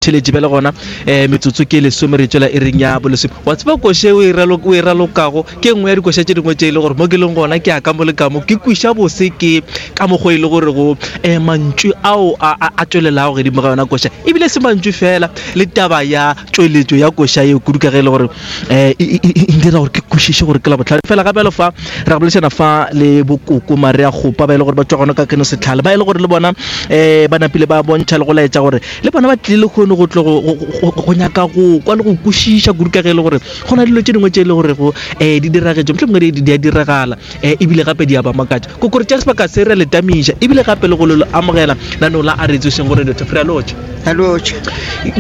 motheletši bjale gona um metsotso ke lesome re tšwela iring ya bolesome. Wa tseba koša o e ralo- o e ralokago ke nngwe ya dikoša tše dingwe tše e le gore mo ke leng gona ke ya ka mo le ka mo ke kwiša bose ke ka mokgwa e le gore go um mantšu ao a a- a tšwelelago godimo ga yona koša ebile se mantšu fela le taba ya tšweletšo ya koša yeo kudu ka ge e le gore um e e- e- e dira gore ke kwešiše gore ke la bohlale fela gape le fa re boledišana fa le bokoko Maria Kgopa ba e le gore ba tšwa gona ka keno setlhale ba e le gore le bona um ba napile ba bontšha le go laetša gore le bona ba tlile lehono go tlo go nyaka go kwa le go kwešiša kudu ka ge e le gore go na dilo tše dingwe tše e le gorego um di diragetše mohlomongwe di a diragala um ebile gape di a ba makatša kokore tša sebaka se re le tamiša ebile gape le go le amogela nanong la a re tsošeng gore dr free lotšha lotšha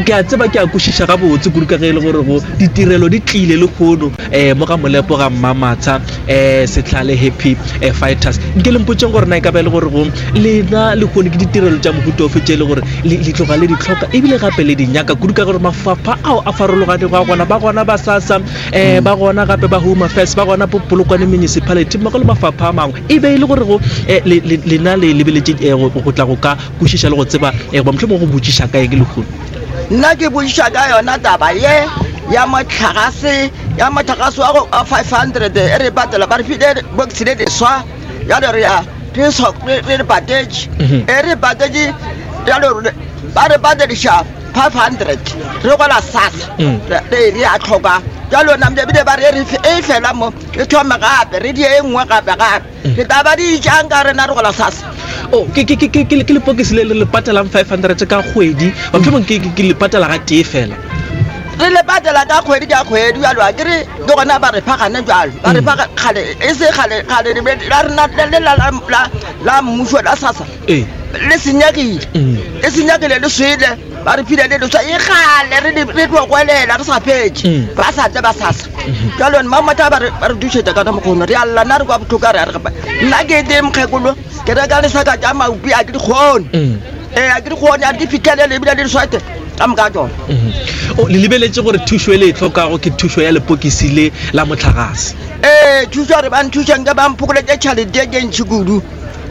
ke a tseba ke a kwešiša gabotse kudu ka ge e le gore go ditirelo di tlile lehono um mo ga molepo ga mmamatsha um setlhale happy eh, fighters nke le mpotseng gore na e ka ba e le gore go lena lehono ke ditirelo tša mohuta ofe tše e le gore le tloga le di tlhoka ebile gape le di nyaka kudu ka gore mafapha ao a farologanego a gona ba gona ba sasa um ba gona gape ba home affairs ba gona polokwane municipality mmogo le mafapha a mangwe e be e le gore go eh, lena le lebeletše eh, go tla go ka kwešiša le go tseba eh, goba mohlomongwe go botšiša ka eng lehono nna ke botšiša ka yona taba ye ya motlhagase ya motlhagase wa go 500 e re patela ba re file box le leswa ya le re ya re re patetše mhm. e re patetše jalo ba re patediša 500 re gola sasa mm. re a tlhoka jalo namile ebile ba re e fela mo re thome gape re die e nngwe gape gape mm. re tla ba di jang ka rena re gola sasa oh, ke lepokisi le le patelang 500 ka kgwedi mohlomong ke le patela ga tee fela re le patela ka kgwedi ka kgwedi jalo a kere ke gona ba re fa gane jalo ba re fa mm. kgale e se kgale kgale la rena le la mmušo la sasa Ee. le senyegile Mm. le senyegile le swele ba re phile le leswa e gale re le- re tlo gwelela re sa fetše Mm. ba sa tle ba sasa jalo mmamata ba re ba re dušetša ka mokgono re a lla nna re kwa botlhoko a re a re gape nna ke tee mokgekolo ke reka lesaka tša maupi a ke di kgone Mm. ee a ke di kgone a di fitlhelele ebile le diswate ka moka tsone Mhm. O, le lebeletše gore thušo e le e tlhokago ke thušo ya lepokisi le la motlagase ee thušo re ba nthušang ke ba mphokoletse tšhalete e ke ntšhi kudu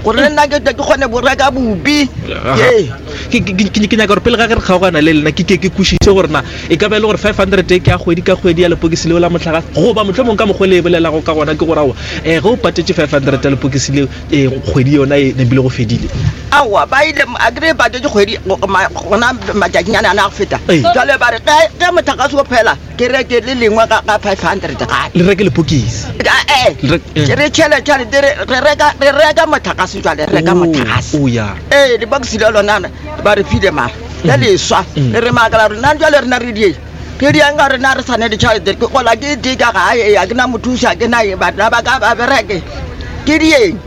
gore le nna ke tle ke kgone go reka bopi ee ke nyaka gore pele ga ge re kgaogana le lena ke ke ke kwešiše gore na e ka ba e le gore 500 e ke ya kgwedi ka kgwedi ya lepokisi leo la mohlagase goba mohlomong ka mokgwa le e bolelago ka gona ke gore aowa um ge o patetše 500 ya lepokisi leo um kgwedi yona e nepile go fedile aowa ba ile a kry patetše kgwedi gona matšatšinyana a na go feta jale ba re ge mohlagase o phela Ke reke le lengwe ga ga 500 gape. Le reke lepokisi. Eh, Le rek- eh. re tšhele tšhelete re re reka re reka motlakase jwale re reka Oh, motlakase. oh, ya. Ee, lebokisi le lona ba re file mara le leswa Mm. re re makala rena jwale rena re dieng re dieng ka rena re sa ne ditšhelete ke gola ke tee ka gae ee, a ke na mothusi a ke na eng batho ba ka ba bereke ke dieng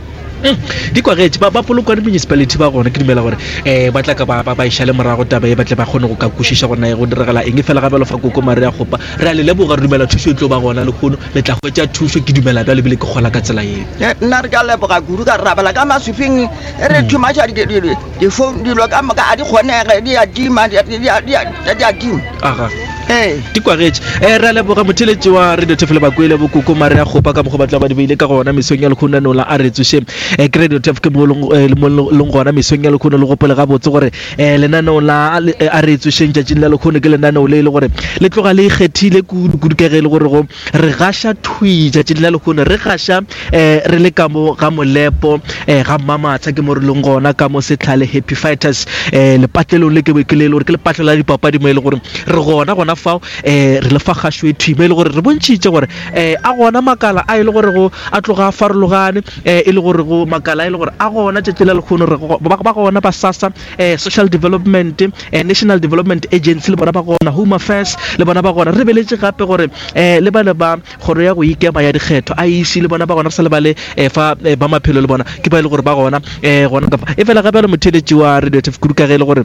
Mm, di kwagetše ba ba polokwane municipality ba gona ke dumela gore um ba tla ka ba ba ba išale morago taba e ba tle ba kgone go ka kwešiša gore na e go diragala eng fela gabjalo fa koko mare ya kgopa re a le leboga re dumela thušo e tlo ba gona lehono le tla hwetša thušo ke dumela bjalo ebile ke kgola ka tsela yeo Eh, nna re ka leboga kudu ka re rabela ka maswifing e re thumaša difounu dilo ka moka a di kgonege di a tima di a- di a- di a di a tima aga ee di kwagetše um re a leboga motheletši wa radio tefele bakwele bokoko mare ya kgopa ka mokgwa ba tla ba di beile ka gona mesong ya lekgono no la a re tsoše um ke radio tef ke mo leng eh, mo leng gona mesong ya lekgono le gopole gabotse gore um lenaneo la a re tsošeng tšatšing la lekgono ke lenaneo le e le gore le tloga le ikgethile kudu kudu ka ge e le gore go re gaša thwi tšatšing la lekgono re gaša um re le ka mo ga molepo um ga mmamatsha ke mo re leng gona ka mo setlhale happy fighters um lepatlelong le ke be ke le e le gore ke lepatlelo la dipapadi mo e le gore re gona gona fao um re le fa kgašo e thwi mo e le gore re bontšhitše gore um a gona makala a e le gore go a tloga a farologane um e le gore go makala a e le gore a gona tšatši la lekgono re ba gona ba sasa um social development um national development agency le bona ba gona home affairs le bona ba gona re beletše gape gore um le ba le ba kgoro ya go ikema ya dikgetho IEC le bona ba gona re sa lebale um fa eh, ba maphelo le bona ke ba e le gore ba gona um gona kapa e fela gape le motheletši wa radio tf kudu ka ge e le gore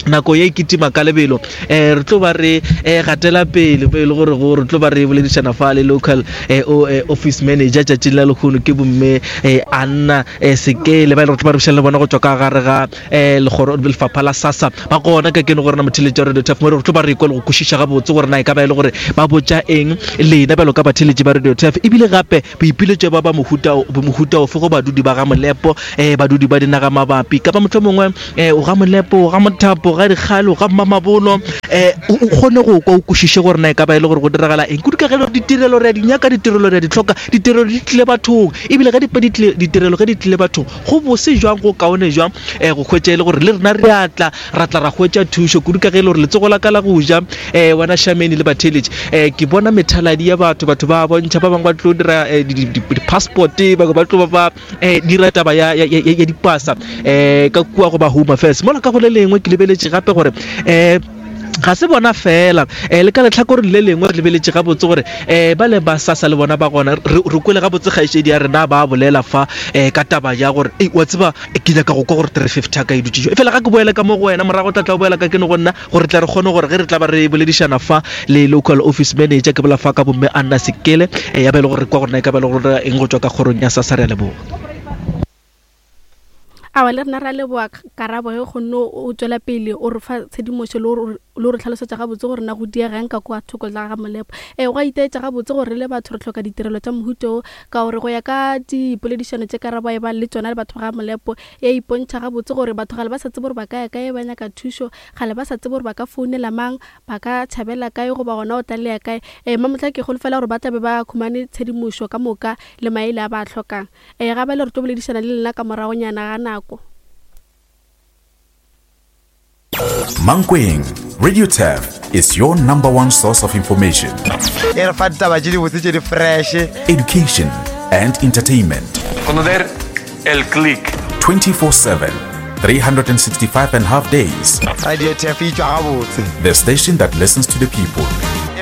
nako ye e kitima ka lebelo um re tlo ba re um gatela pele mo e le gore go re tlo ba re boledišana fa le local um office manager tšatšing la lekgono ke bomme um anna um sekele ba e le gore tlo ba re bušang le bona go tšwa ka gare ga um legoro lefapha la sasa ba gona ka keno gore na motheletši wa radio taf mo re tlo ba re kwa le go kwešiša gabotse gore na e ka ba e le gore ba botša eng lena bjalo ka batheletši ba radio taf ebile gape boipiletšo ba ba mohuta mohuta ofe go badudi ba ga molepo um badudi ba dinaga mabapi kapa mohlomongwe um o ga molepo o ga mothapo o ga dikgale, o ga mmamabolo, um o kgone go kwa o kwešiše gore na e ka ba e le gore go diragala eng. Kudu ka ge ditirelo re a di nyaka, ditirelo re a di hloka, ditirelo di tlile bathong, ebile ge di ditirelo ge di tlile bathong, go bose jwang, go kaone jwang um go hwetša e le gore le rena re a tla, ra tla ra hwetša thušo. Kudu ka ge e le gore letsogo la ka la go ja, um wena Shameni le batheeletši, um ke bona methaladi ya batho, batho ba bontšha, ba bangwe ba tlo dira di-passport, bangwe ba tlo ba ba um dira taba ya, ya, ya, ya dipasa um ka kua go ba Home Affairs. Mola ka go le lengwe ke lebeletše gape gore um ga se bona fela um le ka letlhakoreng le lengwe re lebeletše gabotse gore um ba le ba sasa le bona ba gona. Re kwele gabotse kgaetšedi ya rena ba bolela fa um ka taba ya gore ei wa tseba ke nyaka go kwa gore 350 ya ka e dutše jwang. Efela ga ke boele ka mo go wena morago tla tla o boela ka kene go nna gore tla re kgone gore ge re tla ba re boledišana fa le local office manager ke bola fa ka bomme Anna Sekele ya ba e le gore re kwa gore na e ka ba e le gore eng go tšwa ka kgorong ya SASSA. Re a leboga. Awa le rena ra leboa karabo ge kgonne o tšwela pele o re fa tshedimošo le go re hlalosetša gabotse gore na go diegang ka kwa thoko la ga Molepo. Ee, go a itaetša gabotse gore re le batho re hloka ditirelo tša mohuta wo ka gore go ya ka dipoledišano tše karabo a e bang le tšona le batho ba ga Molepo e a ipontšha gabotse gore batho gale ba sa tsebe gore ba ka ya kae ba nyaka thušo, gale ba sa tsebe gore ba ka founela mang, ba ka tšhabela kae goba gona o tlalea kae. Ee, Mamohla ke holofela gore ba tla be ba khumane tshedimošo ka moka le maele a ba a hlokang. Ee, ga bjale re tlo boledišana le lena ka moragonyana ga nako. Mankweng, Radio Turf is your number one source of information. E re fa ditaba tše dibotse tše di fresh. Education and entertainment. Conocer el click. 24/7, 365 and half days. Radio Turf e tšwa gabotse. The station that listens to the people.